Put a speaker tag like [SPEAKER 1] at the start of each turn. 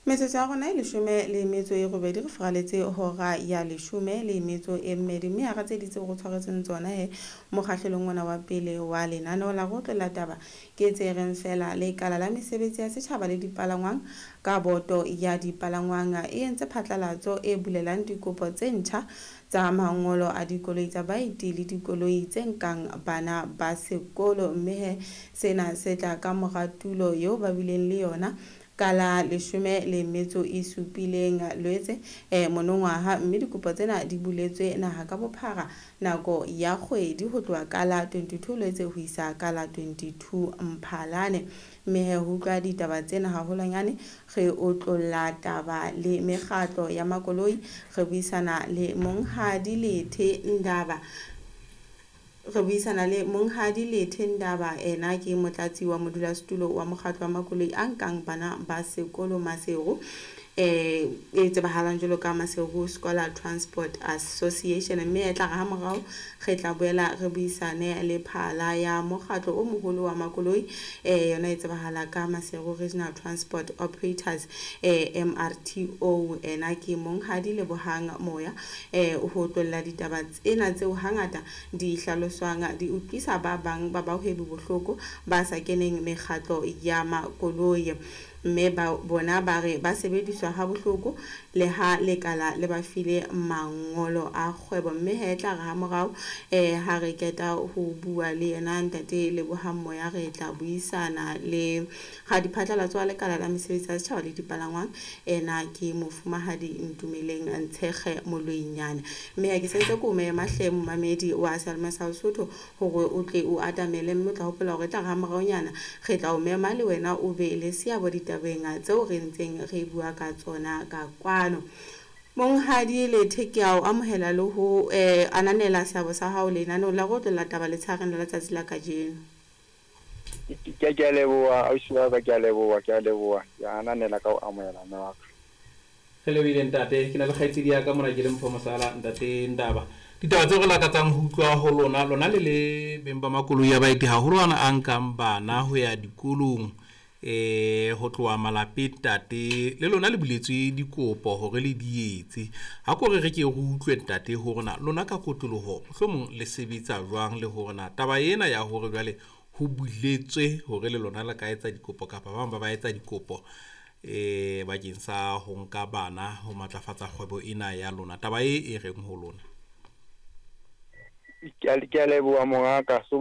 [SPEAKER 1] Metsotso ya rona e 18 re furaletse hora ya 12, mme hara tse di tseo re tshwaretseng tsona he mokgahlelong ona wa pele wa lenaneo la rotlo la taba ke tse reng fela lekala la mesebetsi ya setjhaba le dipalangwang ka boto ya dipalangwang e entse phatlalatso e bulelang dikopo tse ntjha tsa mangolo a dikoloi tsa baeti le dikoloi tse nkang bana ba sekolo, mme he sena se tla ka mora tulo eo ba bileng le yona ka la 17 Lwetse monongwaha, mme dikopo tsena di buletswe naha ka bophara nako ya kgwedi ho tloha ka la 22 Lwetse ho isa ka la 22 Mphalane. Mme he ho utlwa ditaba tsena haholwanyane re otlolla taba le mekgatlo ya makoloi, re buisana le Monghadi Lethe Ndaba. Re buisana le Monghadi Lethe Ndaba, ena ke motlatsi wa modulasetulo wa mokgatlo wa makoloi a nkang bana ba sekolo Maseru, e tsebahalang jwalo ka Maseru Scholar Transport Association. Mme e tla re ha morao re tla boela re buisane le phala ya mokgatlo o moholo wa makoloi, yona e tsebahala ka Maseru Regional Transport Operators, MRTO. Ena ke Monghadi Lebohang Moya, ho tlolla ditaba tsena tseo hangata di hlaloswang di utlwisa ba bang ba bahwebi bohloko ba sa keneng mekgatlo ya makoloi, mme ba bona ba re ba sebediswa ha bohloko le ha lekala le ba file mangolo a kgwebo. Mme he tla re ha morao ha re keta ho bua le yena Ntate Lebohang Moya, re tla buisana le radiphatlalatso wa lekala la mesebetsi ya setjhaba le dipalangwang, ena ke Mofumahadi Ntumeleng Ntshekge Moloinyane. Mme ha ke sentse ke o mema hle momamedi wa Seyalemoya sa Lesotho hore o tle o atamele, mme o tla hopola hore e tla re ha moraonyana re tla o mema le wena o be le seabo ditabeng tseo re ntseng re bua ka tsona ka kwano. Monghadi Lethe, ke a o amohela le ho ananela seabo sa hao lenaneong la rotlo la taba letshareng la letsatsi la kajeno.
[SPEAKER 2] Ke a leboha ausi wa ka, ke a leboha, ke a leboha, ke ananela ka ho amohela mme wa ka.
[SPEAKER 3] Re lebohile ntate, ke na le kgaitsedi ya ka mona ke le Mpho Mosala. Ntate Ndaba, ditaba tseo re lakatsang ho utlwa ho lona, lona le le beng ba makoloi a baeti haholo ana a nkang bana ho ya dikolong ho tloha malapeng, ntate le lona le buletswe dikopo hore le di etse. Ha ko re re ke re utlwe ntate hore na lona ka kotloloho mohlomong le sebetsa jwang, le hore na taba ena ya hore jwale ho buletswe hore le lona le ka etsa dikopo kapa ba bang ba ba etsa dikopo bakeng sa ho nka bana ho matlafatsa kgwebo ena ya lona, taba e reng ho lona?
[SPEAKER 2] Ke a leboha mongaka. So